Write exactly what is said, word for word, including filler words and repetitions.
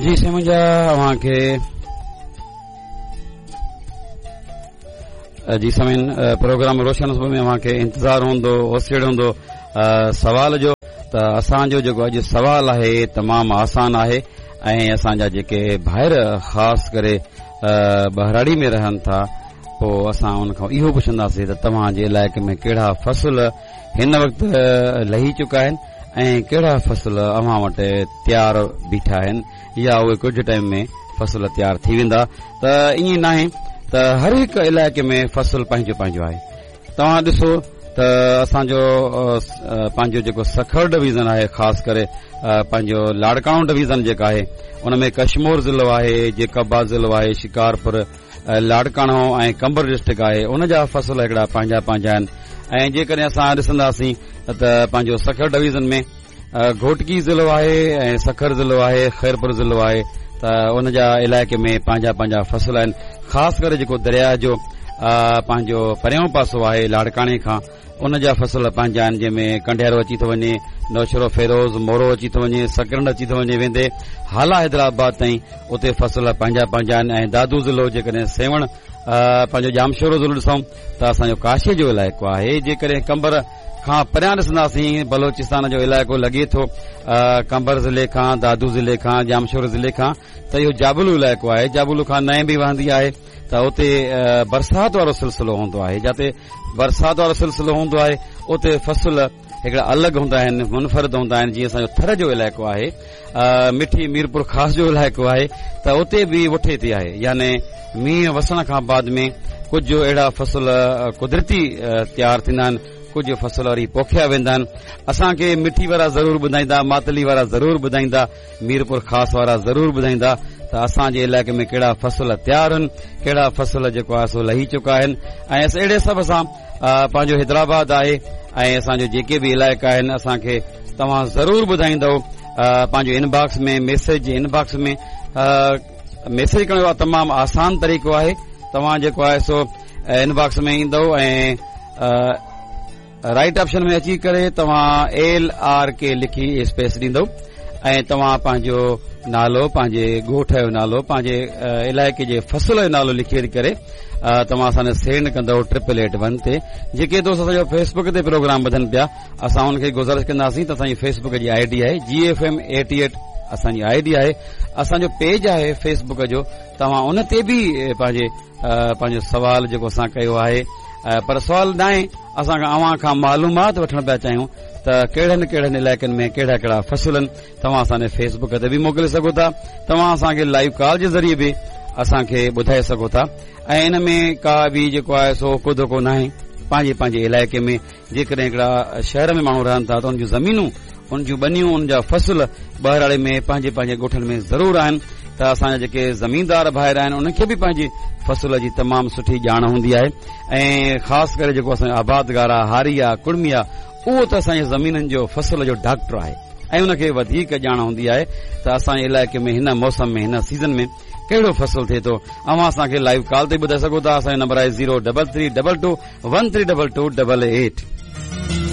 जी साईं मुंहिंजा अव्हां खे जी सामीन प्रोग्राम रोशन सुबह में अव्हां खे इंतज़ार हूंदो, ओसेड़ हूंदो सवाल जो। त असांजो जेको अॼु सवाल आहे तमामु आसान आहे ऐं असांजा जेके भाइर ख़ासि करे बहिराड़ी में रहनि था, पोइ असां उन खां इहो पुछंदासीं त तव्हांजे इलाइक़े में कहिड़ा फसल हिन वक़्तु लही चुका आहिनि ऐं कहिड़ा फसल अव्हां वटि तयारु बीठा आहिनि या उहे कुझु टाइम में फसल तयारु थी वेंदा। त ईअं नाहे त हर हिकु इलाइक़े में फसल पंहिंजो पंहिंजो आहे। तव्हां ॾिसो त असांजो पंहिंजो जेको सखर डिवीज़न आहे, ख़ासि करे पंहिंजो लाड़काणो डिवीज़न जेका आहे उन में कश्मोर ज़िलो आहे, जेकबाद ज़िलो आहे, शिकारपुर, लाड़काणो ऐं कंबर डिस्ट्रिक्ट आहे, उन जा फसल हिकिड़ा पंहिंजा पंहिंजा आहिनि। ऐं जेकॾहिं असां ॾिसंदासीं त पंहिंजो सखर डिवीज़न में घोटकी ज़िलो आहे ऐं सखर ज़िलो आहे, ख़ैरपुर ज़िलो आहे, त उन जा इलाइक़े में पंहिंजा पंहिंजा फसल आहिनि। ख़ासि करे जेको दरिया जो पंहिंजो परियों पासो आहे लाड़काणे खां, उन जा फसल पंहिंजा आहिनि, जंहिंमें कंडियारो अची थो वञे, नौशरो फेरोज़, मोरो अची थो वञे, सकरंड अची थो वञे, वेंदे हाला हैदराबाद ताईं उते फसल पंहिंजा पंहिंजा आहिनि। ऐं दादू ज़िलो जेकॾहिं सेवण पंहिंजो जामशोरो ज़िलो ॾिसूं त असांजो काशे जो इलाइक़ो आहे। जेकॾहिं कंबर खां परियां ॾिसंदासीं बलोचिस्तान जो इलाइक़ो लॻे थो कंबर ज़िले खां, दादू ज़िले खां, जामशोरो ज़िले खां, त इहो जाबलू इलाइक़ो आहे। जाबलू खां नए बि वहंदी आहे त उते बरसाति वारो सिलसिलो हूंदो आहे। जिते बरसाति वारो सिलसिलो हूंदो आहे उते फसल हिकिड़ा अलॻि हूंदा आहिनि, मुनफ़रद हूंदा आहिनि। जीअं असांजो थर जो इलाइक़ो आहे, मिठी मीरपुर ख़ासि जो इलाइक़ो आहे, त उते बि वठे ते आहे, यानी मींहुं वसण खां बाद में कुझु अहिड़ा फसल कुदरती तयारु थींदा आहिनि, कुझु फसल वरी पोखिया वेंदा आहिनि। असांखे मिठी वारा ज़रूरु ॿुधाईंदा, मातली वारा ज़रूरु ॿुधाईंदा, मीरपुर ख़ासि वारा ज़रूरु ॿुधाईंदा त असांजे इलाइक़े में कहिड़ा फसल तयारु आहिनि, कहिड़ा फसल जेको आहे सो लही चुका आहिनि। ऐं अहिड़े हिसाब सां पंहिंजो हैदराबाद आहे ऐं असांजो जेके बि इलाइक़ा आहिनि असांखे तव्हां ज़रूरु ॿुधाईंदव। पंहिंजो इनबॉक्स में मैसेज, इनबॉक्स में मैसेज करण जो तमामु आसान तरीक़ो आहे। तव्हां जेको आहे सो इनबॉक्स में ईंदव ऐं राइट ऑप्शन में अची करे तव्हां एल आर के लिखी स्पेस ॾींदव ऐं तव्हां पंहिंजो नालो, पंहिंजे ॻोठ जो नालो, पंहिंजे इलाइक़े जे फसल जो नालो लिखी करे तव्हां असांखे सेंड कंदव ट्रिपल एट वन ते। जेके दोस्त असांजो फेसबुक ते प्रोग्राम ॿुधनि पिया, असां उनखे गुज़ारिश कंदासीं त असांजी फेसबुक जी I D आहे G F M eighty eight असांजी I D आहे, असांजो पेज आहे फेसबुक जो, तव्हां उन ते बि पंहिंजे पंहिंजो सवाल जेको असां कयो आहे, पर सवाल न आहे, असां अव्हां खां मालूमात वठण पिया चाहियूं त कहिड़नि कहिड़नि इलाइक़नि में कहिड़ा कहिड़ा फसल आहिनि। तव्हां असांजे फेसबुक ते बि मोकिले सघो था, तव्हां असांखे लाइव कॉल जे ज़रिए बि असांखे ॿुधाए सघो था। ऐं इन में का बि जेको आहे सो को धोखो न आहे। पंहिंजे पंहिंजे इलाइक़े में जेकॾहिं हिकिड़ा शहर में माण्हू रहनि था त उन जूं ज़मीनूं, उन जूं ॿनियूं, उन जा फसल ॿहिराड़े में पंहिंजे पंहिंजे ॻोठनि में ज़रूरु आहिनि। त असांजा जेके ज़मींदार भाइर आहिनि उन्हनि खे बि पंहिंजी फसल जी तमामु सुठी ॼाण हूंदी आहे। ऐं ख़ासि करे जेको असांजो आबादगार आहे, हारी आहे, कुड़मी आहे, उहो त असांजे ज़मीननि जो फसल जो डॉक्टर आहे ऐं उनखे वधीक ॼाण हूंदी आहे त असांजे इलाइक़े में हिन मौसम में, हिन सीज़न में कहिड़ो फसल थिए थो। अव्हां असांखे लाइव कॉल ते ॿुधाए सघो था। असांजो नंबर आहे zero double three double two one three double two double eight.